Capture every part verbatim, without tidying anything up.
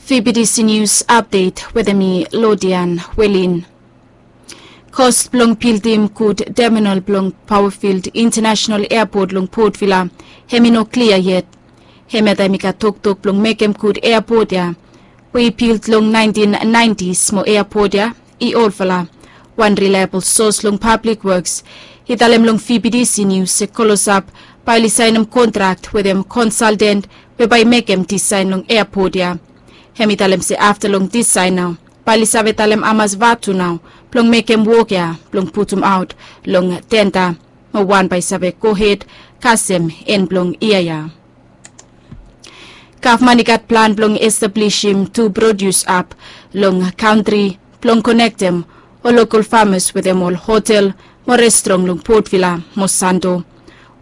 Vbtc News Update wetem mi Lodian Welin. Kos blong bildim gud teminal blong Powerfield International Airport long Port Vila hem i no klia yet. Hemia taem i gat toktok blong mekem gud airport ya we i bild long naentin naentis mo airport ya i olfala. Wan reliable sos long Public Works i talem long Vbtc News se Kolosap bae oli saenem kontrak wetem konsalten we bae i mekem disaen long airport ya. Hem i talem se afta long disaen nao bae oli save talem hamas vatu nao blong mekem wok ya blong putumaot long tenda mo wan bae i save gohed kasem en blong yia ya. Gavman i gat plan blong establisim tu produs hab long kantri blong konektem ol lokol famas wetem ol hotel mo restrong long Port Vila mo Santo.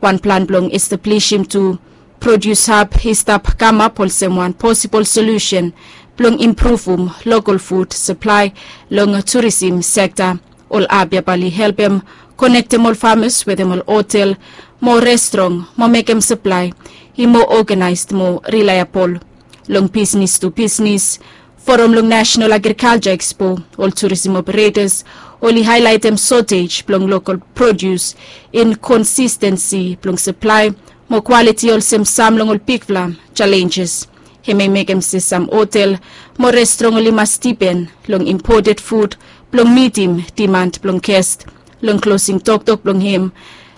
Wan plan blong establisim tu produs hab i stap kamap olsem wan posibol solusen blong impruvum lokol fud saplae long turisim sekta. Ol hab ya bae oli helpem konektem ol famas wetem ol hotel mo restrong mo mekem saplae i moa oganaes mo rilaebol. Long bisnis tu bisnis foram long Nasenal Agrikalja Ekspo, ol turisim operetas oli haelaetem sotej blong lokol produs, inkonsistensi blong saplae mo kwaliti olsem sam long ol bigfala jalenjes. Hem i mekem se sam hotel mo restrong oli mas dipen long impoted fud blong mitim diman blong gest. Long klosing toktok blong hem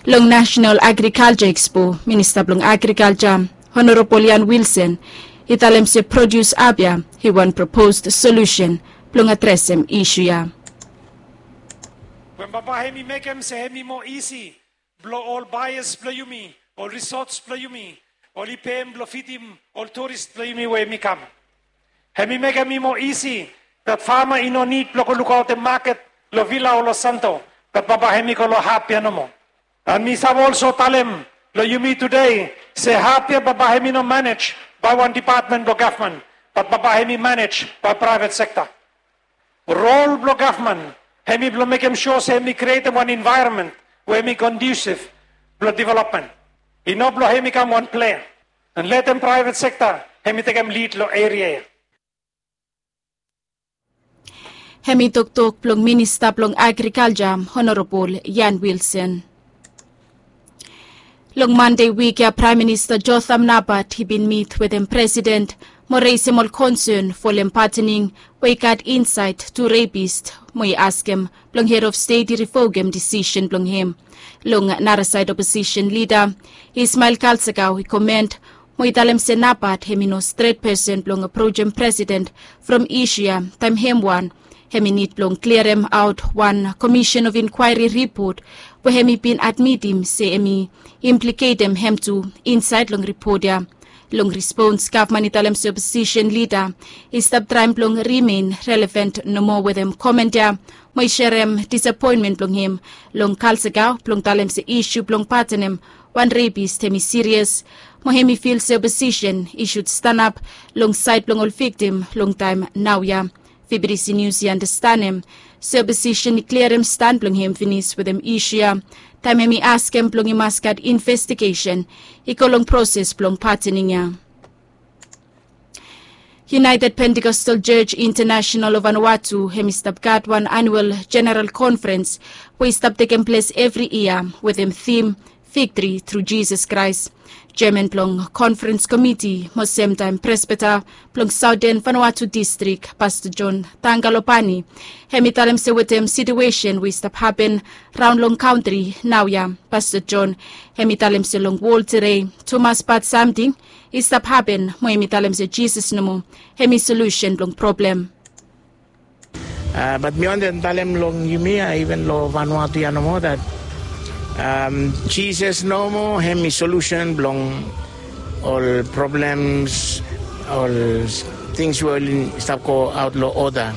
long Nasenal Agrikalja Ekspo, Minista blong Agrikalja Honorabol Ian Wilson i talem se produs hab ya i wan proposed solusen blong adresem isu ya. We bambae hem i mekem se hem i moa isi blong ol baeas blong yumi, ol risots blong yumi, oli pem blong fidim ol turis blong yumi we hem i kam. Hem i mekem i moa isi dat fama i no nid blong go lukaotem maket long Vila o long Santo, bat bambae hem i go long hab ya nomo. An mi save olso talem long yumi tude se hab ya bambae hem i no manej bae wan depatmen blong gavman, bat bambae hem i manej bae praevet sekta. Rol blong gavman hem i blong mekem sua se hem i krietem wan envaeronmen we hem i kondusiv blong developmen. I no blong hem i kam wan plea an letem praevet sekta hem i tekem lid long eria ya. Hem i toktok blong Minista blong Agrikalja Honorabol Ian Wilson. Long Mande wik ya Praem Minista Jotham Napat i bin mit wetem Presiden mo resem ol konsen folem patening we i gat insaed tu repis mo i askem blong hed of stet i rivokem disisen blong hem. Long narasaed oposisen lida Ismael Kalsakau i komen mo i talem se Napat hem i no stret pesen blong aprojem Presiden from isu ya taem hem wan hem i nid blong kliaremaot wan komisen of inkwaeri ripot we hem i bin admitim se hem i impliketem hem tu insaed long ripot ya. Long rispons gavman i talem se oposisen lida i stap traem blong rimen relevan nomo wetem komen ya mo i serem disapoenmen blong hem long Kalsakau blong talem se isu blong patenem wan repis hem i sirias mo hem i fil se oposisen i sud stanap long saed blong ol viktim long taem naoia. Vbtc Nius i andastan hem se oposisen i kliarem stan blong hem finis wetem isu ya taem hem i askem blong i mas gat investigesen i go long proses blong patening ya. United Pentecostal Church International of Vanuatu hem i stap gat wan anual jeneral konferens we i stap tekem ples evri yia wetem tim Victory Through Jesus Christ. Jeaman blong konferens komiti mo semtaem presbita blong Saoten Vanuatu distrik Pasta John Tangalopani hem i talem se wetem situesen we i stap hapen raon long kantri naoia Pasta John hem i talem se long wol tede tumas bad samting i stap hapen mo hem i talem se Jisas nomo hem i solusen blong problem. Bat mi wantem talem long yumi ya iven long Vanuatu ya nomo dat Jisas nomo hem i solusen blong ol problems, ol tings we oli stap go aot long oda.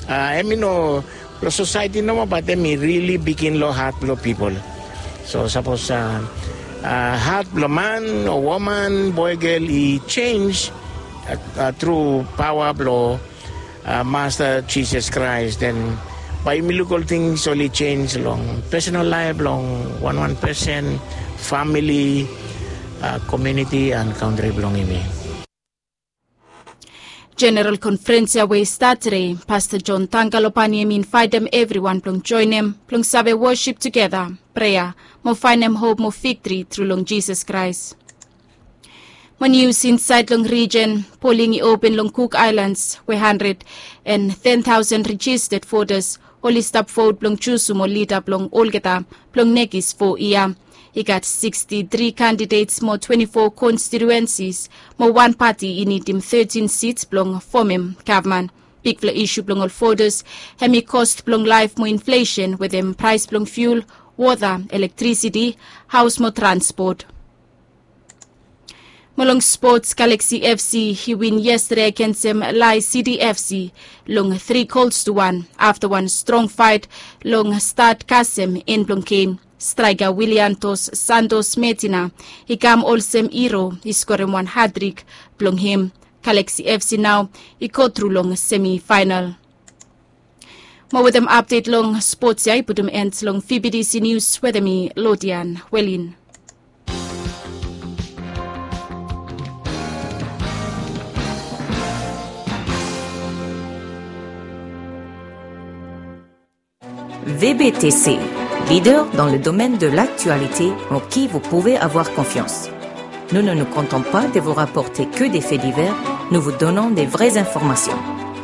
Hem i no long sosaeti nomo bat hem i rili bigin long hat blong pipol. So sapos hat blong man o woman boe gel i jenj tru paoa blong Masta Jisas Kraes den bae yumi luk ol tings oli jenj long pesonal laef blong wanwan pesen, famili, komuniti an kantri blong yumi. Jeneral konferens ya we i stat tede, Pasta John Tanga Lopani hem i invaitem evriwan blong joenem blong save wosip tugeta, prea, mo faenem hop mo viktri tru long Jisas Kraes. Mo nius insaed long rijen, poling i open long Cook Islands we handred and ten taosen rejisted votas oli stap vot blong jusum ol lida blong olgeta blong nekis fo yia. I gat siksti tri kandidets mo twenti fo konstituensis, mo wan pati i nidim tetin sits blong fomem gavman. Bigfala isu blong ol votas hem i kost blong laef mo inflesen wetem praes blong fiul, wota, elektrisiti, haos mo transpot. Mo long spots, Galaxy F C i win yestede agensem Lae City F C long tri gols tu wan afta wan strong faet long stat kasem en blong gem. Straeka Willian Dos Santos Medina i kam olsem hiro, i skorem wan hatrik blong hem. Galaxy F C nao i go tru long semifaenal. Mo wetem apdet long spots ya i putum en long V B T C Nius wetem mi, Lodian Welin. V B T C, leader dans le domaine de l'actualité en qui vous pouvez avoir confiance. Nous ne nous contentons pas de vous rapporter que des faits divers, nous vous donnons des vraies informations.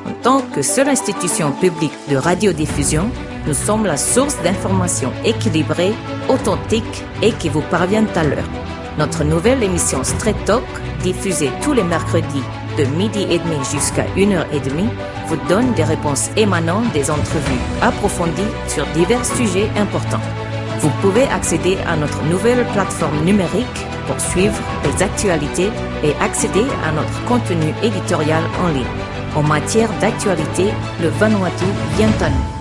En tant que seule institution publique de radiodiffusion, nous sommes la source d'informations équilibrées, authentiques et qui vous parviennent à l'heure. Notre nouvelle émission Straight Talk, diffusée tous les mercredis de midi et demi jusqu'à une heure et demie, vous donne des réponses émanant des entrevues approfondies sur divers sujets importants. Vous pouvez accéder à notre nouvelle plateforme numérique pour suivre les actualités et accéder à notre contenu éditorial en ligne. En matière d'actualité, le Vanuatu vient à nous.